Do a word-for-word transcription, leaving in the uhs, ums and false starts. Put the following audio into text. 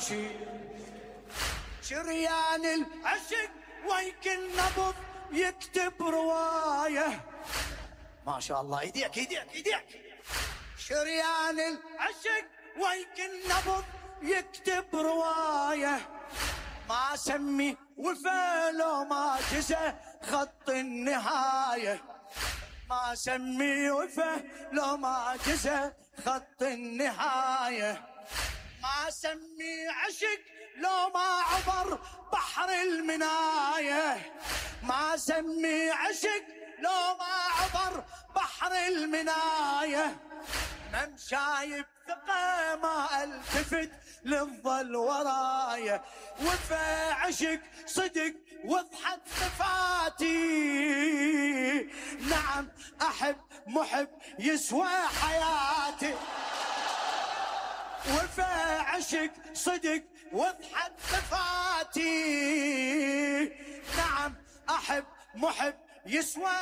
ابكي. شريان العشق ويك النبض يكتب رواية. ما شاء الله ايديك ايديك ايديك. شريان العشق ويك النبض يكتب رواية. ما سمي وفا لو ما جزى خط النهاية. ما سمي وفا لو ما جزى خط النهاية. ما سمي عشق لو ما عبر بحر المناية. ما سمي عشق لو ما عبر بحر المناية. ممشاي بثقة ما التفت للظل ورايا. وفا عشق صدق وضحت صفاتي. نعم احب محب يسوى حياتي. وفا عشق صدق وضحت صفاتي. نعم احب محب يسوى